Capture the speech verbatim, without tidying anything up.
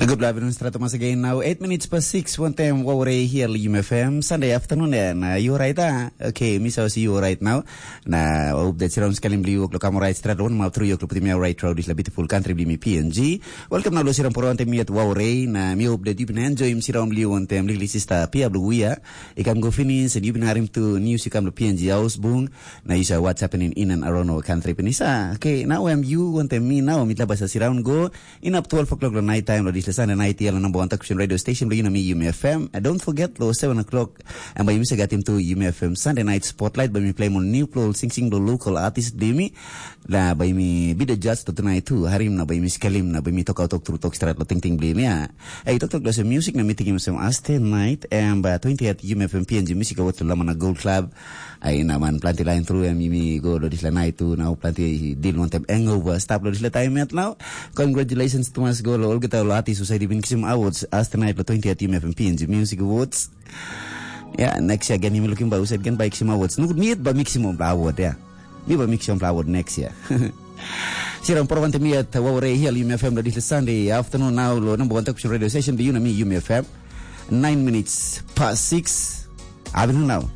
Good afternoon, Strato once again. Now, eight minutes past six, one time, Waware here, Yum F M, Sunday afternoon, and uh, you alright, ah? Okay, Miss House, you alright now? Na update siram skalim bliu o'clock, I'm alright, Strato, one map through your club, me alright, through this beautiful country, bli mi P N G. Welcome now, lo siram por one time, mi at Waware, na mi update, you been enjoy, siram bliu, one time, lili sister, Pia Bluia. I kam go finish, and you been harim to news, you come to P N G house, bung, na you say what's happening in and around our country, Penisa. Okay, now I'm you, one time, me now, mi tlabasa siram go, Inap twelve o'clock lo night time lo dispela Sunday night ia lo number one talk show radio station blo yumi Yumi F M. And don't forget lo seven o'clock and by yumi se gatim tu Yumi F M Sunday night spotlight by mi play mo new plo sing sing lo local artist bli mi. La by mi be the judge to tonight tu. Harim na by mi skelim na by mi talk out talk through talk strat lo ting ting bli mi ya. Hey, talk talk lo se music na mi tingim se aste night and by twenty at Yumi F M P N G Music Awards lo Lamana Gold Club. Ai na man planti lain tru em yumi go lo dispela nait tu nau planti dil wantem hangover stap lo dispela taim yet nau. Congratulations tumas go lo olgeta lo artis husai di bin kisim awards as tonight lo twenty at Yumi F M P N G Music Awards. Ya, next year again yumi looking by husai again by kisim awards. Nukut miet ba mi kisim ompla award ya. Mi ba mi kisim ompla award next year. Siram por wante mi at Waware Hill Yumi F M lo dispela Sunday afternoon nau lo number one talk show radio station di Yumi F M. Nine minutes past six. Abin nau.